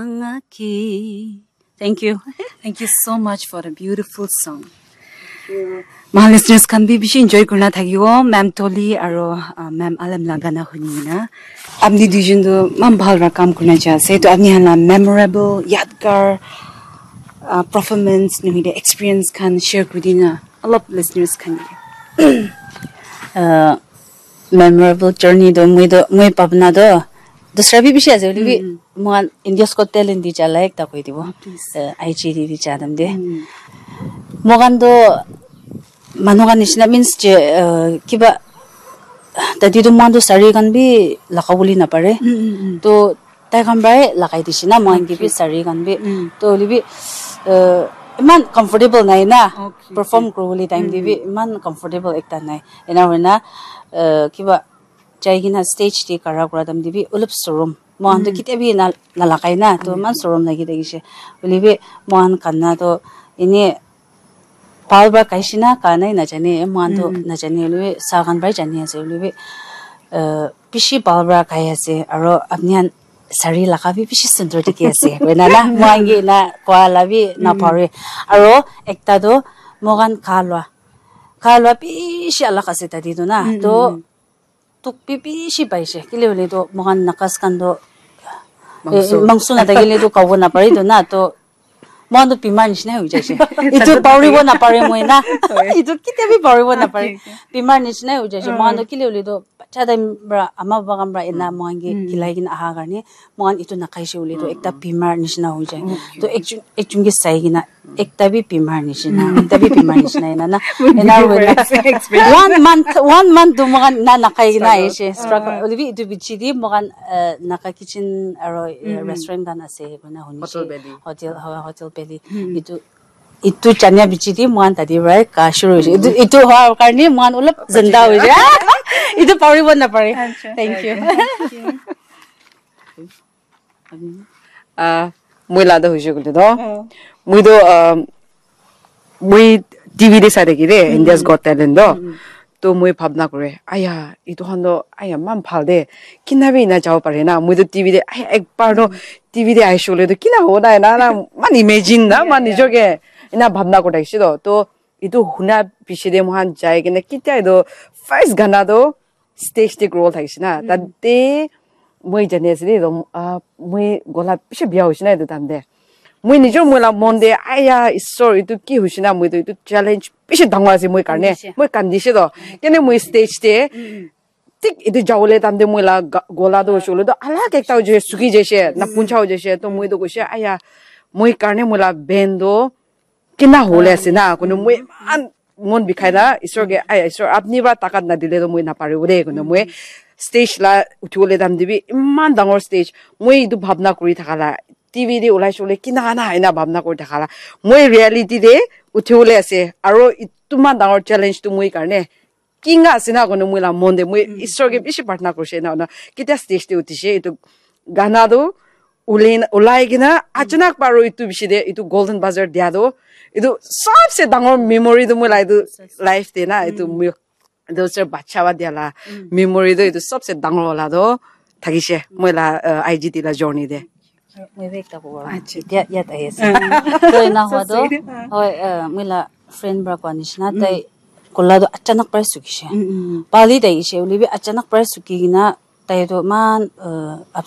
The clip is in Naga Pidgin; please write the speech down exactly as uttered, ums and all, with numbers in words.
Thank you. Thank you so much for a beautiful song. My listeners khan bi bishi enjoy kurina thakibo, Ma'am Toli aro, uh, Ma'am Alem la gana huni na. Apni duijon tu man bhal ra kam kurina ja ase. To apni han la memorable, yadgar, uh, performance, nohile experience khan share kuri dina. Alop listeners khan ke. Uh, memorable journey do moi do moi pabna do dusra bi bishi ase, hoile bi mohan India's Got Talent di jala ekta koi dibo. Please. Eh, I G D di jadam de. Mohan do manu khan nishina means je, eh, kiba tadi do mohan do sari khan bi laka boli na pare. To tai khan para lagai dise na, mohan ke bi sari khan bi. To hoile bi, eh, iman comfortable nai na. Perform kuri bole time te bi iman comfortable ekta nai. Ena hoina, eh, kiba jai kena stage te khara kura time te bi olop sorom. Mohan to kitia bi na nalagai na, to iman sorom lagi thakise. Hoile bi mohan khan na to ene bhal para gaise na ga nai najane, mohan to najane, hoile bi sa khan para jani ase, hoile bi, eh, bishi bhal para gai ase, aro apni khan sari laga bi bishi sundor dikhi ase, koina na, mohan ke na koa la bi na pare. Aro ekta to mohan kha lua, kha lua bishi alag ase tadi to na, to tuk bi bishi paise, kile hoile to mohan Nagas khan to, eh, mangso na thakile to khabo na pare to na, to mohan to bimar nishina hoi jaise. Itu paribo na pare moi na. Itu kitia bi paribo na pare. Bimar nishina hoi jaise. Mohan to kile hoile to bacha time para ama baba khan para ena mohan ke khilai kena aha karne mohan itu nakaise hoile to ekta bimar nishina hoi jai. To ekjun ekjun ke sai kena ekta bi bimar nishina, ekta bi bimar nishina ena na. Ena hoina one month, one month to mohan na nakai kena aise. Struggle. Hoile bi itu bichi di mohan, eh, Naga kitchen aro, eh, restaurant khan ase koina hunise. Hotel Valley. Hotel, hotel Valley. Itu, itu chania bichi di mohan tadi para ga shuru hoise. Itu, itu hoa karne mohan olop zanda hoise. Itu paribo na pare. Thank you. Ah, moi la da hoise koile to. Moi to, ah, moi T V de sai thaki de, India's Got Talent to. To moi bhabna kore, aya, itu khan to, aya, man bhal de. Kina bi ena jabo pare na. Moi to T V de, aya, ekbar to T V de aise koile to kina hobo na, na, na, man imagine na, man nijor ke ena bhabna kore thakise to. To itu huna piche de mohan jai kena kitia itu first gana to stage te grow thakise na. Tate moi jani ase de, ah, moi gola bishi bia hoise na itu time te. Moi nijor moi la mon te, aya, Isor, itu ki hoise na, moi to itu challenge bishi dangor ase moi karne. Moi kandise to. Kene moi stage te, thik itu jabole time te moi la ga-, gola to hoise koile to alag ekta hoise, suki jaise, na puncha hoi jaise. To moi to koise, aya, moi karne moi la band to kina hole ase na, kono moi iman mon bikhai na, Isor ke, "Ai, Isor, apni para takat nadile to moi naparibo de," kono moi stage la uthi bole time te bi, iman dangor stage, moi itu bhabna kuri thaka la, T V de ulai shole kina na, ena bhabna kuri thaka la, moi reality de uthi bole ase, aro itu man dangor challenge tu moi karne, kinga ase na kono moi la mon de, moi Isor ke bishi prarthana kurise na, na, kitia stage te uthise, itu gana tu ulai, ulai kena, achanak paro itu bishi de, itu Golden Buzzer dia tu, itu sabse dangor memory tu moi la itu life te na, itu moi, itu se bacha ba dia la memory tu, itu sabse dangor wala tu thakise, moi la, uh, I G T la journey de. Moi bi ekta kobo. Acha. Etia yat ahi ase. To ena hua to, hoi, eh, moi la friend para koa nishina, tai gola to achanak para sukise. Pali tai ise, hoile bi achanak para suki kena, tai to iman, eh, ups